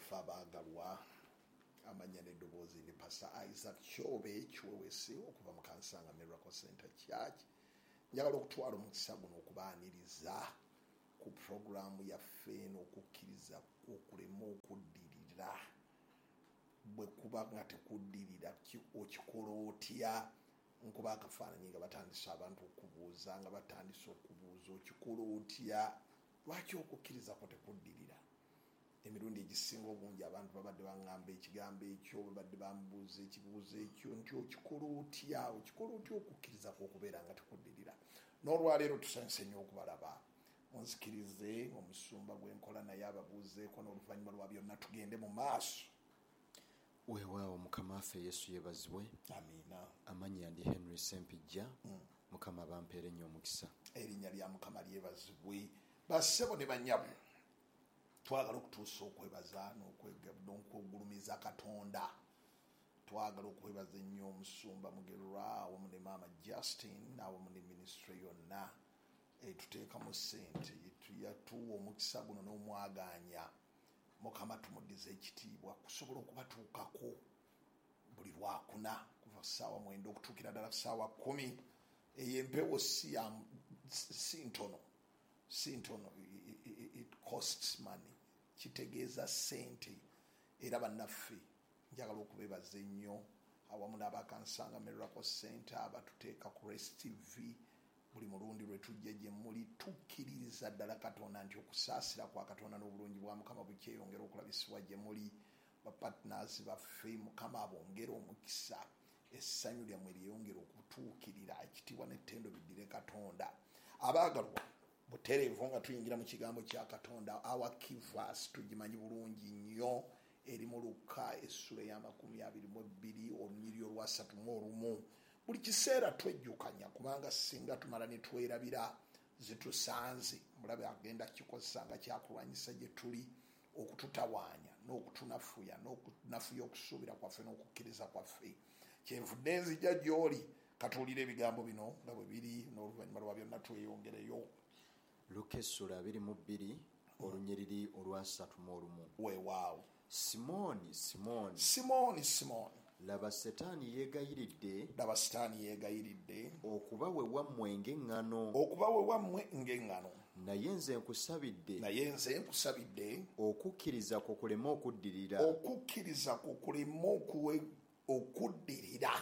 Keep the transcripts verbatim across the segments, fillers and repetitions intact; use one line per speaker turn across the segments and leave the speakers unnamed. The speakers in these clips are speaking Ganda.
Baffe abaagalwa, amanya n'eddoboozi ni Pastor Isaac Kyobe Kiwewesi okuva mu Kansanga Miracle Center Church. Njagala okutwala omukisa guno okubaaniriza ku puroguraamu yaffe n'okukkiriza okulema okuddirira. Bwe kuba nga tekuddirira, okikola otya? Nkuba akafaananyi nga batandise abantu okubuuza, nga batandise okubuuza okikola otya, lwaki okukkiriza kwo tekuddirira? Emirundi egisinga obungi abantu babadde baŋŋamba ekigambo ekyo, babadde bambuuza ekibuuzo ekyo nti okikola otya, okikola otya okukkiriza kwo okubeera nga tekuddirira? N'olwaleero tusanyuse nnyo okubalaba. Munzikirize omusumba gwe nkola naye ababuuzeeko, n'oluvannyuma lwa byonna tugende mu maaso.
Weewaawo, Mukama waffe Yesu yeebazibwe.
Amiina.
Amannya ndi Henry Sempijja. Mukama bampeere nnyo omukisa.
Erinnya lya Mukama lyebazibwe. Bassebo ne bannyabo, twagala okutuusa okwebaza n'okugulumiza Katonda. Twagala okwebaza ennyo omusumba Mugerwa awamu ne Maama Justin awamu ne minisitule yonna etuteekamu ssente, yatuwa omukisa guno n'omwagaanya. Mukama tumuddize ekitiibwa kusobola okubatuukako buli lwakuna kuva ssaawa mwenda okutuukira ddala ssaawa kkumi. Eyo empewo si ntono, si ntono, it costs money, kitegeeza ssente. Era bannaffe njagala okubeebaza ennyo awamu n'Abakansanga Miracle Center abatuteeka ku Race T V buli mulundi lwe tujja gye muli. Tukkiririza ddala Katonda nti okusaasira kwa Katonda n'obulungi bwa Mukama bukyeyongera okulabisibwa gye muli. Bapartners baffe, Mukama abongere omukisa, essanyu lyammwe lyeyongere okutuukirira, ekitiibwa n'ettendo biddire Katonda. Abaagalwa, butereevu nga tuyingira mu kigambo kya Katonda, our key verse tugimanyi bulungi nnyo, eri mu Luka essula ey'amakumi abiri mu ebbiri olunyiriri olwasatu mu olumu. Buli kiseera twejjukanya, kubanga singa tumala ne twerabira zitusanze. Mulabe agenda kikozesa nga kyakulwanyisa gye tuli okututawaanya n'okutunafuya n'okunafuya okusuubira kwaffe n'okukkiriza kwaffe. Kyenvudde nzija gy'oli, katuwulire ebigambo bino nga bwe biri, n'oluvannyuma lwa byonna tweyongereyo.
Luka essula abiri mu bbiri olunyiriri olwasatu mu olumu.
Weewaawo.
Simooni, Simooni,
Simooni, Simooni,
laba Setaani yeegayiridde,
laba Setaani yeegayiridde
okuba we wammwe ng'eŋŋano,
okuba we wammwe ng'eŋŋano,
naye nze nkusabidde,
naye nze nkusabidde
okukkiriza kwo kuleme okuddirira,
okukkiriza kwo kuleme okuddirira.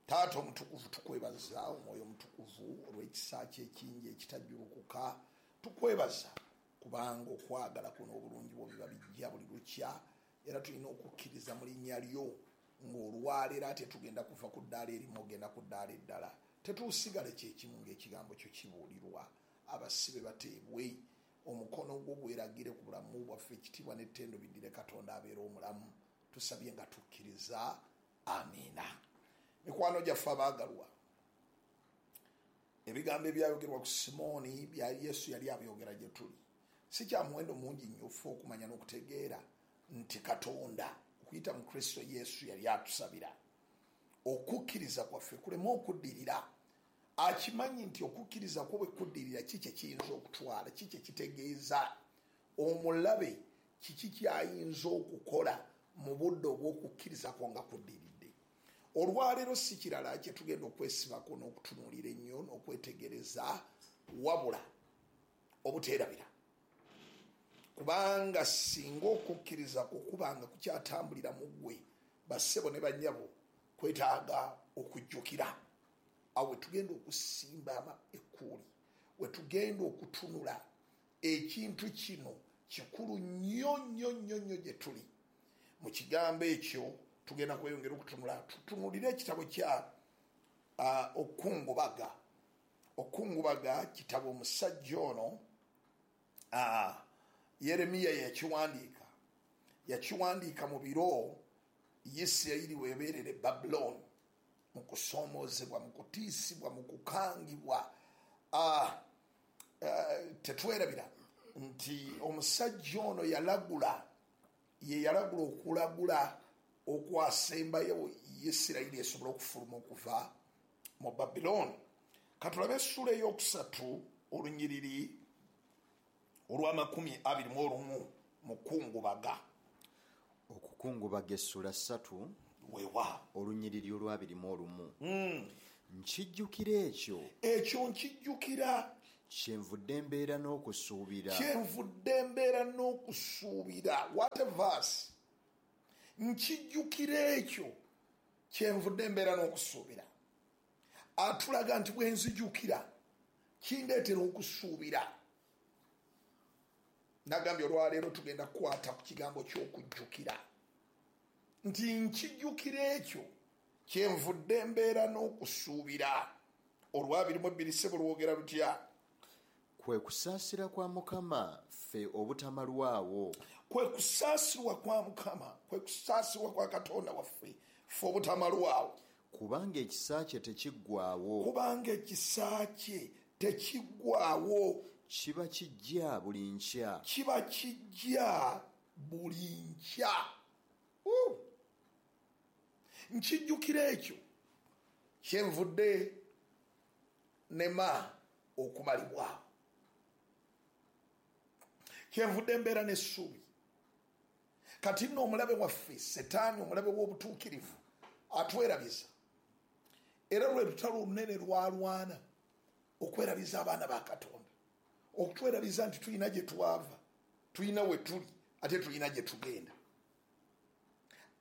Taata omutukuvu, tukwebaza omwoyo omutukuvu olw'ekisa kye ekingi ekitajjulukuka. Tukwebaza kubanga okwagala kuno obulungi bwo biba bijja buli lukya, era tulina okukkiriza mu linnya lyo ng'olwaleero ate tugenda kuva ku ddaala erimu ogenda ku ddaala eddala. Tetuusigale kyekimu ng'ekigambo kyo kibuulirwa. Abasibe bateebwe, omukono gwo gweragire ku bulamu bwaffe, ekitiibwa n'ettendo biddire Katonda abeera omulamu. Tusabye nga tukkiriza, amiina. Mikwano gyaffe abaagalwa, ebigambo ebyayogerwa ku Simooni bya Yesu yali abyogera gye tuli. Si kya muwendo mungi nnyo ffe okumanya n'okutegeera nti Katonda okuyita mu Kristo Yesu yali atusabira okukkiriza kwaffe kuleme okuddirira. Akimanyi nti okukkiriza kwo bwe kuddirira ki kye kiyinza okutwala, ki kye kitegeeza omulabe, kiki kyayinza okukola mu budde obw'okukkiriza kwo nga kuddiridde. Olwaleero si kirala kye tugenda okwesibako n'okutunuulira ennyo n'okwetegereza, wabula obuteerabira, kubanga singa okukkiriza kwo kubanga kukyatambulira mu ggwe, bassebo ne bannyabo, kwetaaga okujjukira. Awo we tugenda okusimba ekkuuli, we tugenda okutunula ekintu kino kikulu nnyo nnyo nnyo nnyo gye tuli. Mu kigambo ekyo tugenda kweyongera okutunula, tutunulire ekitabo kya uh, Okungubaga. Okungubaga kitabo omusajja ono uh, Yeremiya yakiwandiika, yakiwandiika mu biro Isirayiri weebeerera e Babulooni, mu kusoomoozebwa, mu kutiisibwa, mu kukangibwa. Uh, uh, tetwerabira nti omusajja ono yalagula, ye yalagula okulagula okwasembayo Isirayiri esobola okufuluma okuva mu Babulooni. Katulabe essula ey'okusatu olunyiriri olw'amakumi abiri mu olumu mu Kungubaga.
Okukungubaga essula ssatu
weewaawo
olunyiriri olwabiri mu olumu. Nkijjukira ekyo
ekyo nkijjukira
kyenvudde mbeera n'okusuubira.
Kyenvudde mbeera n'okusuubira. What a verse. Nkijjukira ekyo kyenvudde mbeera n'okusuubira. Atulaga nti bwe nzijukira kindeetera okusuubira. Nagambye olwaleero tugenda kukwata ku kigambo ky'okujjukira. Nti nkijjukira ekyo kyenvudde mbeera n'okusuubira. Olwabiri mu ebbiri ssebo lwogera lutya?
Kwe kusaasira kwa Mukama ffe obutamalwawo.
Kwe kusaasirwa kwa Mukama, kwe kusaasirwa kwa Katonda waffe ffe obutamalwawo.
Kubanga ekisa kye tekiggwaawo.
Kubanga ekisa kye tekiggwaawo.
Kiba kijja buli nkya.
Kiba kijja buli nkya. Nkijjukira ekyo kyenvudde nema okumalibwawo. Kyenvudde mbeera n'essuubi. Kati nno omulabe waffe Setaani, omulabe w'obutuukirivu, atwerabiza. Era lwe lutalo olunene lwalwana okwerabiza abaana ba Katonda, okutwerabiza nti tulina gye twava, tulina we tuli, ate tulina gye tugenda.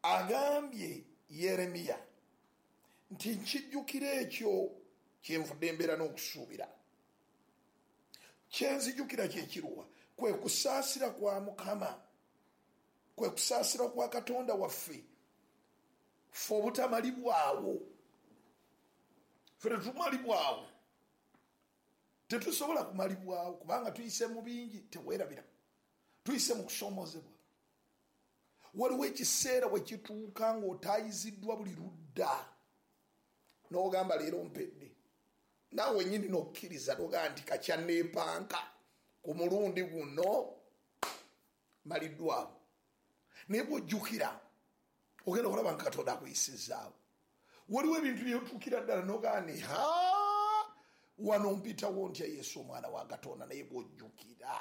Agambye Yeremiya nti nkijjukira ekyo kyenvudde mbeera n'okusuubira. Kyenzijukira kye kiruwa? Kwe kusaasira kwa Mukama, kwe kusaasira kwa Katonda waffe ffe obutamalibwawo. Ffe tetumalibwawo, tetusobola kumalibwawo kubanga tuyise mu bingi. Teweerabira, tuyise mu kusoomoozebwa. Waliwo ekiseera we kituuka ng'otaayiziddwa buli ludda n'ogamba leero mpedde, naawe nnyini n'okkiriza n'ogamba nti kakyanneepanka ku mulundi guno maliddwawo. Naye bw'ojjukira ogenda okulaba nga Katonda akuyisizaawo. Waliwo ebintu byotuukira ddala n'ogamba nti ha, wano mpitawo ntya Yesu omwana wa Katonda. Naye bw'ojjukira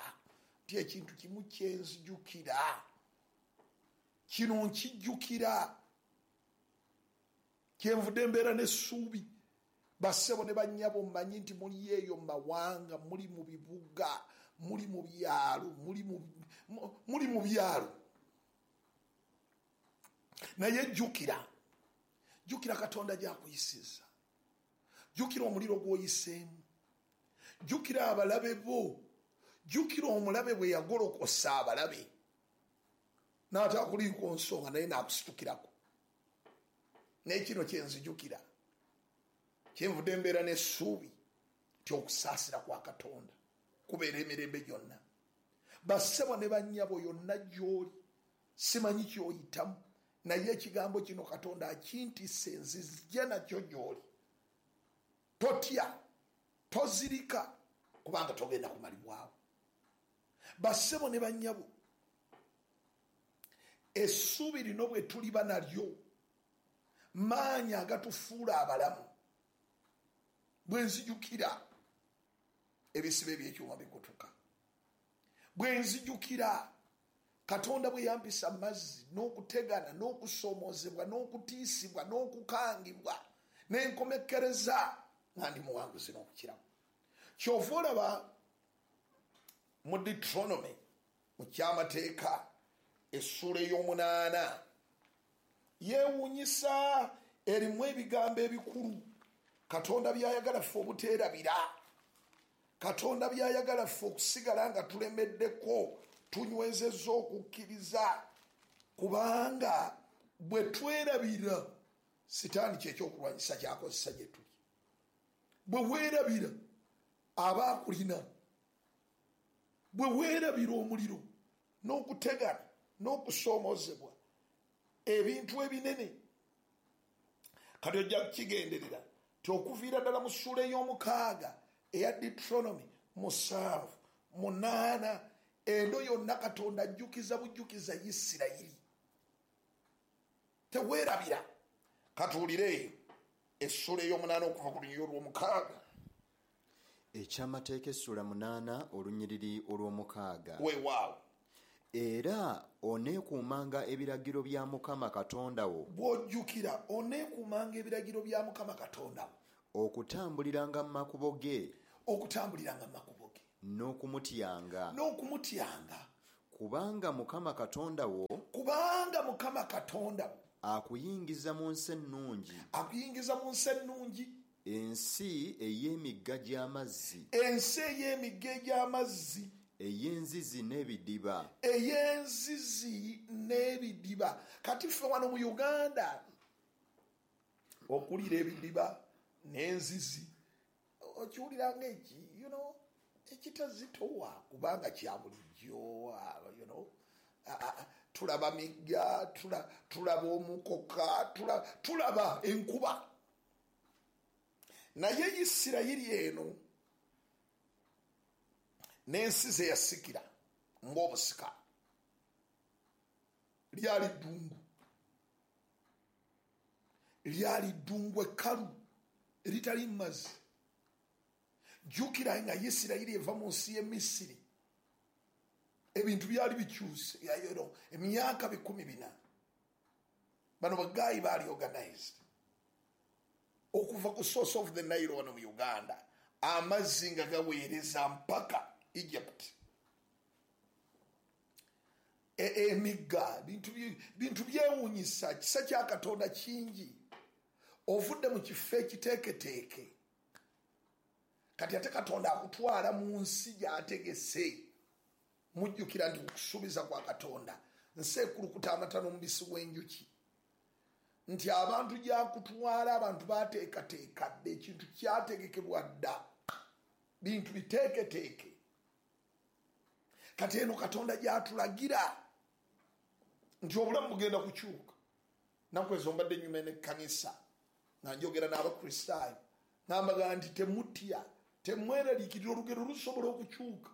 nti ekintu kimu kyenzijukira, kino nkijjukira, kyenvudde mbeera n'essuubi. Bassebo ne bannyabo, mmanyi nti muli eyo mu mawanga, muli mu bibuga, muli mu byalo, muli mu byalo. Naye jjukira, jjukira Katonda gy'akuyisizza, jjukira omuliro gw'oyiseemu, jjukira abalabe bo, jjukira omulabe bwe yagolokosa abalabe n'atakuliiko nsonga naye n'akusitukirako. Naye kino kyenzijukira, kyenvudde mbeera n'essuubi nti okusaasira kwa Katonda kubeera emirembe gyonna. Bassebo ne bannyabo, yonna gy'oli simanyi ky'oyitamu, naye ekigambo kino Katonda akintisse, nzijja nakyo gy'oli. Totya, tozirika, kubanga togenda kumalibwawo. Bassebo ne bannyabo, essuubi lino bwe tuliba nalyo, maanyi agatufuula abalamu. Bwe nzijukira ebisibo eby'ekyuma bikutuka, bwe nzijukira Katonda bwe yampisa mazzi n'okutegana n'okusomoozebwa n'okutiisibwa n'okukangibwa n'enkomekkereza nga ndi muwanguzi n'okukiramu. Kyova olaba mu Deuteronomy mu kyamateeka essuula ey'omunaana yeewuunyisa, erimu ebigambo ebikulu Katonda by'ayagala ffe obuteerabira, Katonda by'ayagala ffe okusigala nga tulemeddeko, tunywezezza okukkiriza, kubanga bwe twerabira Sitaani kyekyokulwanyisa ky'akozesa gye tuli. Bwe weerabira aba akulina, bwe weerabira omuliro n'okutegana n'okusoomozebwa ebintu ebinene. Kati ojja kukigenderera nti okuviira ddala mu ssuula ey'omukaaga eya Deuteronomy musanvu munaana, endo yonna Katonda ajjukiza bujjukiza Isirayiri. Teweerabira. Katuwulire essuula ey'omunaana okuva ku lunyiriri olw'omukaaga.
Ekyamateeka essula munaana olunyiriri olw'omukaaga.
Weewaawo.
Era oneekuumanga ebiragiro bya Mukama Katonda wo.
Bw'ojjukira oneekuumanga ebiragiro bya Mukama Katonda wo.
Okutambuliranga mu makubo ge.
Okutambuliranga mu makubo ge.
N'okumutyanga.
N'okumutyanga.
Kubanga Mukama Katonda wo.
Kubanga Mukama Katonda wo.
Akuyingiza mu nsi ennungi.
Akuyingiza mu nsi ennungi.
Ensi ey'emigga gy'amazzi.
Ensi ey'emigga gy'amazzi.
Ey'enzizi n'ebidiba.
Ey'enzizi n'ebidiba. Kati ffe wano mu Uganda okulira ebidiba n'enzizi okiwulira ng'eki, you know, ekitazitowa kubanga kya bulijjo, you know, tulaba migga, tulaba omukoka, tulaba enkuba. Naye Isirayiri eno n'ensi ze yasikira ng'obusika lyali ddungu, lyali ddungu ekkalu eritali mazzi. Jjukira nga Isirayiri eva mu nsi y'e Misiri, ebintu byali bikyuse emyaka bikumi bina. Bano bagaayi baali organized okuva ku source of the Nile wano mu Uganda, amazzi nga gaweereza mpaka Egypt. Emigga, bintu byewuunyisa, kisa kya Katonda kingi. Ovudde mu kifo ekiteeketeeke, kati ate Katonda akutwala mu nsi gy'ategese. Mujjukira nti okusuubiza kwa Katonda nsi ekulukuta amata n'omubisi gw'enjuki, nti abantu gy'akutwala abantu baateekateeka dda, ekintu kyategekebwa dda, bintu biteeketeeke. Kati eno Katonda gy'atulagira nti obulamu bugenda kukyuka. Nnaku ezo mbadde nnyuma n'ekkanisa nga njogera n'Abakristaayo, ngambagamba nti temutya, temweraliikirira, olugero lusobola okukyuka.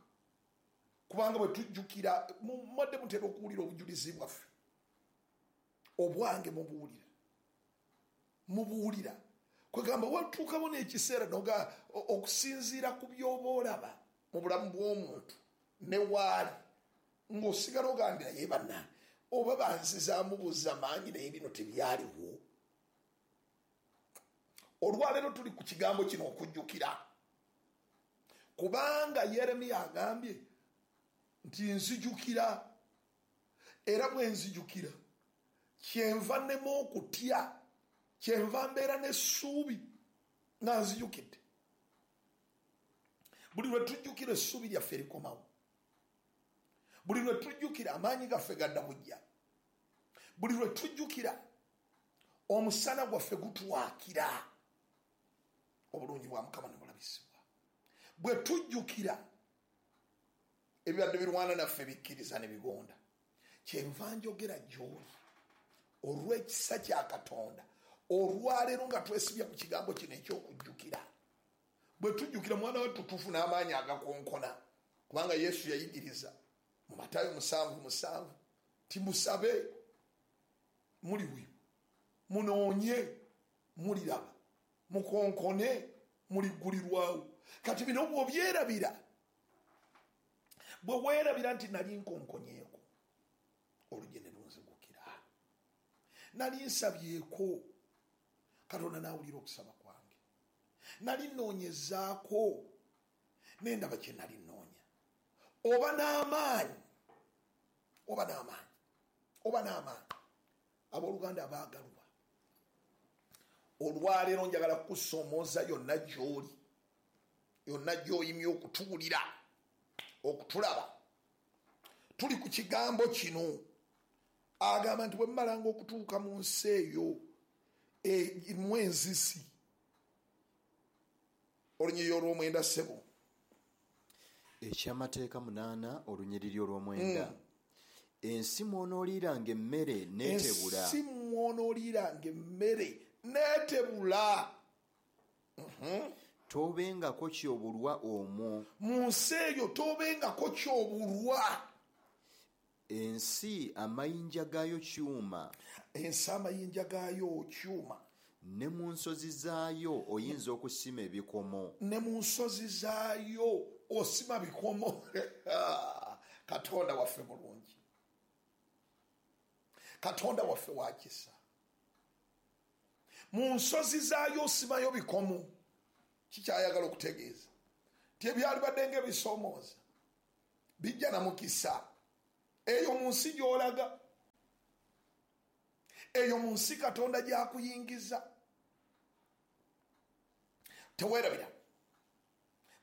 Kubanga bwe tujjukira, mwadde mutera okuwulira obujulizi bwaffe, obwange mubuwulira, mubuwulira. Kwegamba watuukawo n'ekiseera noga okusinziira ku by'oba olaba mu bulamu bw'omuntu ne waali, ng'osigala ogambira ye bannange oba banzizaamu buzza maanyi, naye bino tebyaliwo. Olwaleero tuli ku kigambo kino okujjukira, kubanga Yeremiya agambye nti nzijukira, era bwe nzijukira kyenva nnema okutya, kyenva mbeera n'essuubi nga nzijukidde. Buli lwe tujjukira essuubi lyaffe likomawo, buli lwe tujjukira amaanyi gaffe gadda bujja, buli lwe tujjukira omusana gwaffe gutwakira, obulungi bwa Mukama ne bulabisibwa. Bwe tujjukira ebibadde birwana naffe bikkiriza ne bigonda. Kyenva njogera gy'oli olw'ekisa kya Katonda olwaleero nga twesibye ku kigambo kino eky'okujjukira. Bwe tujjukira mwana wattu tufuna amaanyi agakonkona, kubanga Yesu yayigiriza mu Matayo musanvu musanvu nti musabe muliweebwa, munoonye muliraba, mukonkone muliggulirwawo. Kati bino bw'obyerabira, bwe weerabira nti nali nkonkonyeeko oluggi ne lunzigukira, nali nsabyeko Katonda n'awulira okusaba kwange, nali nnoonyezaako nendaba kye nali nnoonya. Oba n'amaanyi, oba n'amaanyi, oba n'amaanyi. Abooluganda abaagalwa, olwaleero njagala kukusoomooza yonna gy'oli, yonna gy'oyimye okutuwulira, okutulaba. Tuli ku kigambo kino. Agamba nti bwe mmalanga okutuuka mu nsi eyo erimu enzizi. Olunyiriri olw'omwenda ssebo.
Ekyamateeka munaana olunyiriri olw'omwenda. Mm. Ensi mw'onooliiranga emmere n'etebula.
Ensi mw'onooliiranga emmere n'etebula. Mm-hmm.
Toobengako ky'obulwa omwo.
Mu nsi eyo toobengako ky'obulwa.
Ensi amayinja gaayo kyuma.
Ensi amayinja gaayo kyuma.
Ne mu nsozi zaayo oyinza okusima ebikomo.
Ne mu nsozi zaayo osima bikomo. Katonda waffe mulungi. Katonda waffe wa kisa. Mu nsozi zaayo osimayo bikomo. Kikyayagala okutegeeza nti ebyalibadde ng'ebisoomooza bijja na mukisa. Eyo mu nsi gy'olaga, eyo mu nsi Katonda gy'akuyingiza. Teweerabira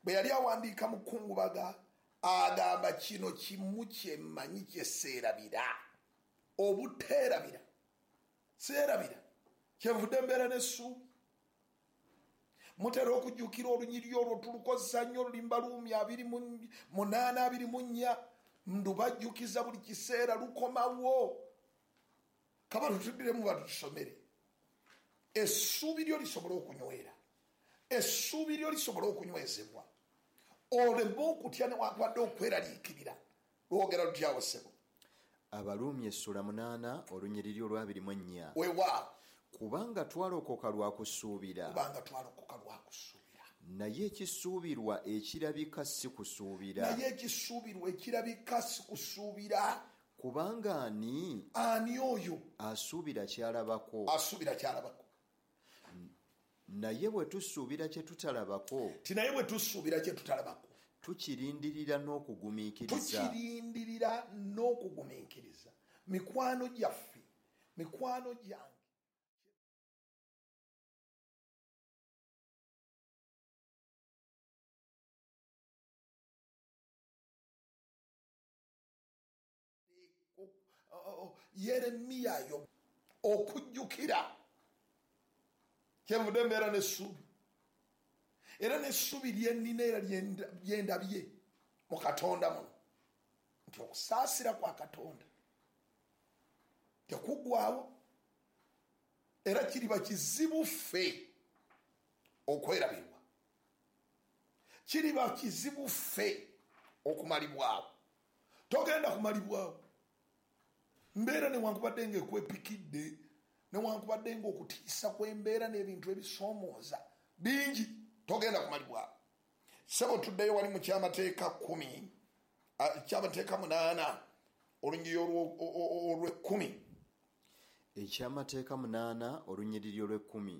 bwe yali awandiika mu Kungubaga agamba kino kimu kye mmanyi kye seerabira, obuteerabira, seerabira kyenvudde mbeera n'essuubi. Mutera okujjukira olunyiriri olwo tulukozesa nnyo, olulimba luumi abiri mu munaana abiri mu nnya, ndubajjukiza buli kiseera lukomawo. Kaba tutuddiremu batutusomere. Essuubi lyo lisobole okunywera, essuubi lyo lisobole okunywezebwa, oleme okutya newankubadde okweraliikirira. Lwogera lutyawo ssebo?
Abaluumi essula munaana olunyiriri olw'abiri mu ennya.
Weewaawo.
Kubanga twalokoka lwa kusuubira.
Kubanga twalokoka lwa kusuubira.
Naye ekisuubirwa ekirabika si kusuubira.
Naye ekisuubirwa ekirabika si kusuubira.
Kubanga ani?
Ani oyo?
Asuubira ky'alabako.
Asuubira ky'alabako.
Naye bwe tusuubira kye tutalabako.
Ti naye bwe tusuubira kye tutalabako.
Tukirindirira n'okugumiikiriza.
Tukirindirira n'okugumiikiriza. Mikwano gyaffe, mikwano gyange. Yeremiya yo okujjukira kyenvudde mbeera n'essuubi, era n'essuubi lyennina era lyendabye mu Katonda muno nti okusaasira kwa Katonda tekuggwaawo, era kiriba kizibu ffe okwerabirwa, kiriba kizibu ffe okumalibwawo. Togenda kumalibwawo. Mbeera newankubadde ng'ekwepikidde, newankubadde ng'okutiisa kw'embeera n'ebintu ebisoomooza bingi, togenda kumalibwawo. Ssebo tuddeyo wali mu kyamateeka kkumi, kyamateeka munaana olunyiriri olw'ekkumi.
Ekyamateeka munaana olunyiriri olw'ekkumi.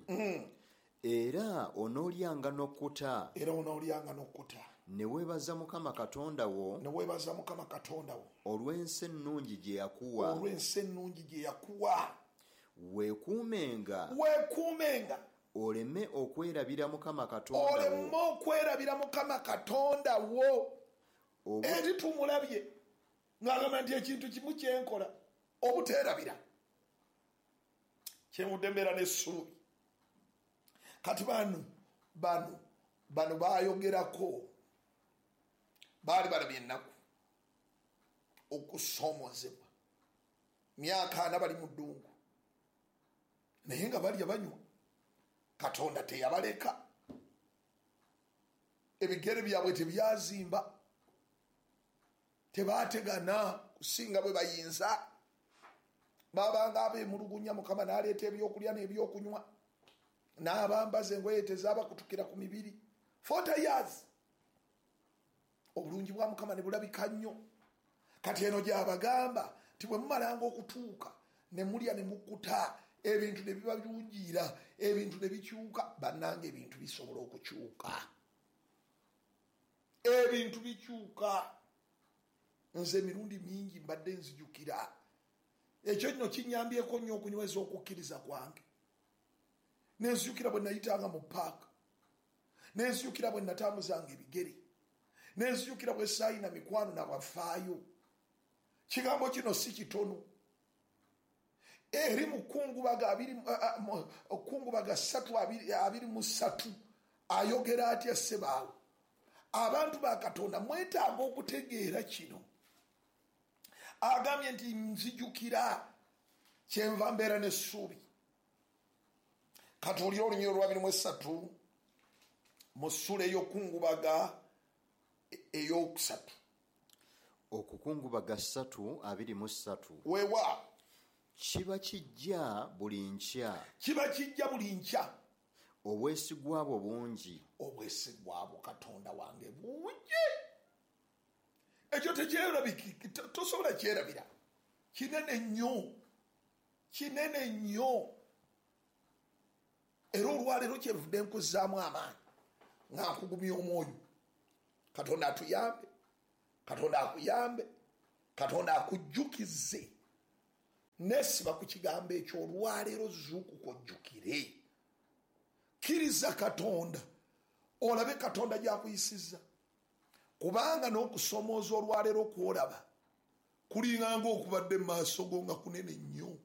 Era onoolyanga n'okkuta.
Era onoolyanga n'okkuta.
Ne weebaza Mukama Katonda wo.
Ne weebaza Mukama Katonda wo.
Olw'ensi ennungi gye yakuwa.
Olw'ensi ennungi gye yakuwa.
Weekuumenga.
Weekuumenga.
Oleme okwerabira Mukama Katonda wo.
Oleme okwerabira Mukama Katonda wo. Eri tumulabye ng'agamba nti ekintu kimu kye nkola obuteerabira. Kyenvudde mbeera n'essuubi. Kati bano bano bano baayogerako, baali balabye ennaku, okusoomozebwa, myaka ana bali mu ddungu, naye nga balya banywa. Katonda teyabaleka, ebigere byabwe tebyazimba, tebaategana kusinga bwe bayinza. Babanga abeemulugunya, Mukama n'aleeta ebyokulya n'ebyokunywa, n'abambaza engoye tezaabakutukira ku mibiri. Forty years obulungi bwa Mukama ne bulabika nnyo. Kati eno gy'abagamba nti bwe mumalanga okutuuka ne mulya ne mukkuta, ebintu ne biba birungiira, ebintu ne bikyuka. Bannange ebintu bisobola okukyuka, ebintu bikyuka. Nze emirundi mingi mbadde nzijukira ekyo nno kinnyambyeko nnyo okunyweza okukkiriza kwange. Nenzijukira bwe nayitanga mu paaka, nenzijukira bwe natambuzanga ebigere, nenzijukira bwe saayina mikwano nabafaayo. Kigambo kino si kitono. Eri mu Kungubaga abiri Kungubaga ssatu abiri mu ssatu ayogera atya ssebaawo? Abantu ba Katonda mwetaaga okutegeera kino. Agambye nti nzijukira kyenva mbeera n'essuubi. Katuwulire olunyiriri olw'abiri mu essatu mu ssula ey'okukungubaga ey'okusatu.
Okukungubaga ssatu abiri mu ssatu.
Weewaawo.
Kiba kijja buli nkya.
Kiba kijja buli nkya.
Obwesigwa bwo bungi.
Obwesigwa bwo Katonda wange bungi. Ekyo tekyerabiki, tosobola kyerabira. Kinene nnyo. Kinene nnyo. Era olwaleero kyenvudde nkuzzaamu amaanyi nga nkugumya omwoyo. Katonda atuyambe, Katonda akuyambe, Katonda akujjukize. Nesiba ku kigambo ekyo olwaleero zuukuka ojjukire. Kkiriza Katonda, olabe Katonda gy'akuyisizza. Kubanga n'okusomooza olwaleero kw'olaba kulinga ng'okubadde mu maaso go nga kunene nnyo.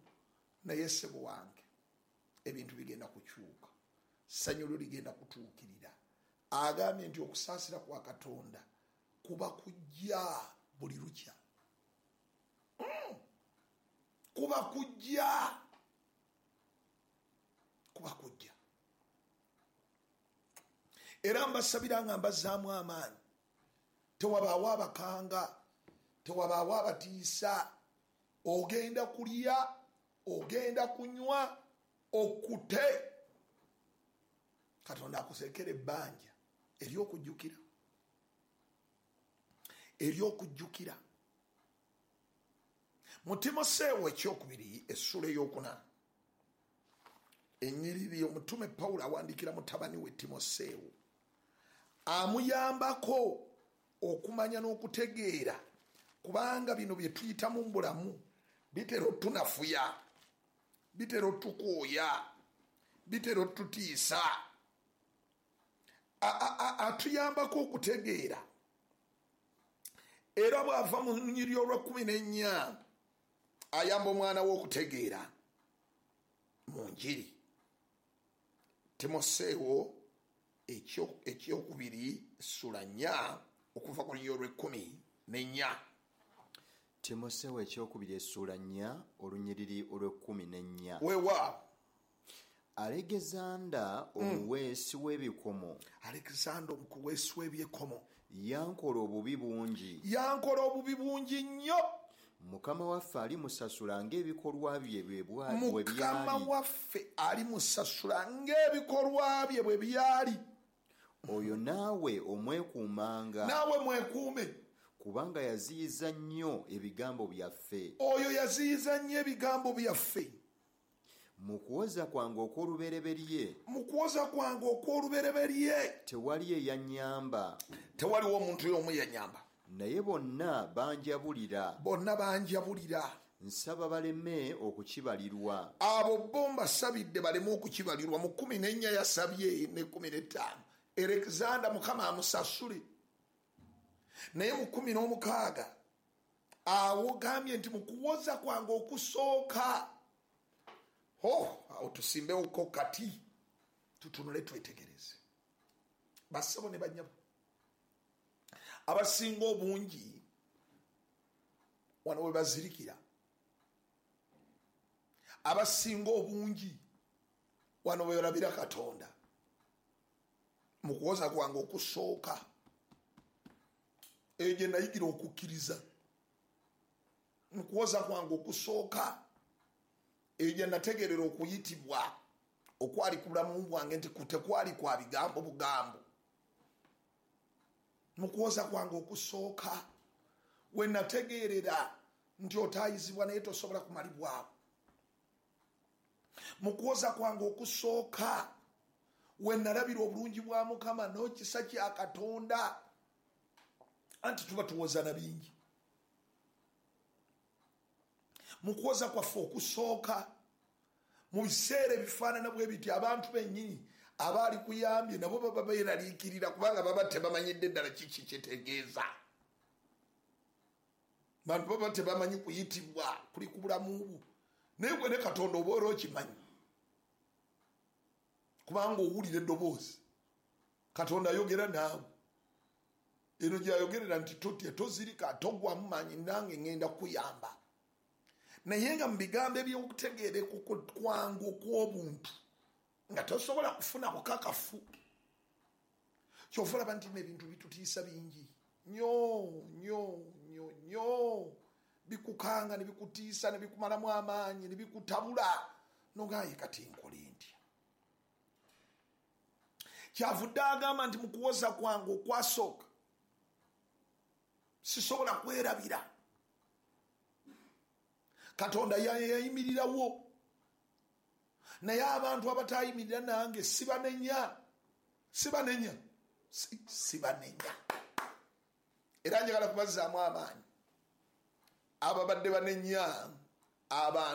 Naye ssebo wange, ebintu bigenda kukyuka, ssanyu lyo ligenda kutuukirira. Agambye nti okusaasira kwa Katonda kuba kujja buli lukya. Mm. Kuba kujja, kuba kujja. Era mbasabira nga mbazzaamu amaanyi. Tewabaawo abakanga, tewabaawo abatiisa. Ogenda kulya, ogenda kunywa, okute. Katonda akusekera ebbanja ery'okujjukira, ery'okujjukira. Mu Timoseewo ekyokubiri essula ey'okuna, ennyiriri omutume Pawulo awandiikira mutabani we Timoseewo, amuyambako okumanya n'okutegeera, kubanga bino bye tuyitamu mu bulamu bitera otunafuya, bitera otukooya, bitera otutiisa. Atuyambako okutegeera. Era bw'ava mu lunyiriri olw'ekkumi n'ennya ayamba omwana we okutegeera mu njiri. Timoseewo ekyokubiri essula nnya okuva ku lunyiriri olw'ekkumi n'ennya.
Timoseewo ekyokubiri essula nnya olunyiriri olw'ekkumi n'ennya.
Weewaawo.
Alegezanda omuweesi w'ebikomo.
Alexander omuweesi w'ebikomo
yankola obubi bungi.
Yankola obubi bungi nnyo.
Mukama waffe alimusasula ng'ebikolwa bye bwe byali.
Mukama waffe alimusasula ng'ebikolwa bye bwe byali.
Oyo naawe omwekuumanga.
Naawe mwekuume.
Kubanga yaziyiza nnyo ebigambo byaffe.
Oyo yaziyiza nnyo ebigambo byaffe.
Mu kuwoza kwange okw'olubereberye.
Mu kuwoza kwange okw'olubereberye.
Tewali eyannyamba.
Tewaliwo omuntu y'omu yannyamba.
Naye bonna banjabulira.
Bonna banjabulira.
Nsaba baleme okukibalirwa.
Abo bo mbasabidde baleme okukibalirwa. Mu kkumi n'ennya yasabye ne kkumi n'ettaano. Alexander Mukama amusasule. Naye mu kkumi n'omukaaga awo gambye nti mu kuwoza kwange okusooka. Oh, awo tusimbewoko kati tutunule twetegereze. Bassebo ne bannyabo, abasinga obungi wano we bazirikira, abasinga obungi wano we balabira Katonda. Mu kuwoza kwange okusooka eyo gye nayigira okukkiriza. Mu kuwoza kwange okusooka eyo gye nategeerera okuyitibwa okwali ku bulamu bwange nti tekwali kwa bigambo bugambo. Mu kuwoza kwange okusooka we nategeerera nti otaayizibwa naye tosobola kumalibwawo. Mu kuwoza kwange okusooka we nalabira obulungi bwa Mukama n'ekisa kya Katonda. Anti tuba tuwoza na bingi. Mu kuwoza kwaffe okusooka mu biseera ebifaanana bwe biti abantu bennyini abaali kuyambye nabo baba beeraliikirira kubanga baba tebamanyidde ddala kiki kyetegeeza. Bantu baba tebamanyi kuyitibwa kuli ku bulamu bwo. Naye gwe ne Katonda oba era okimanyi, kubanga owulira eddoboozi. Katonda ayogera naawe. Eno gy'ayogerera nti totya, tozirika, togwamu maanyi, nange ŋŋenda kukuyamba. Naye nga mu bigambo eby'okutegeera kwangu okw'obuntu nga tosobola kufuna bukakafu. Kyova olaba nti n'ebintu bitutiisa bingi nnyo nnyo nnyo nnyo, bikukanga ne bikutiisa ne bikumalamu amaanyi ne bikutabula, n'ogamba kati nkole ntya? Kyavudde agamba nti mu kuwoza kwange okwasooka sisobola kwerabira. Katonda yayimirirawo Naye abantu abatayimirira nange sibanenya, sibanenya, sibanenya. Era njagala kubazzaamu amaanyi ababadde banenya abantu.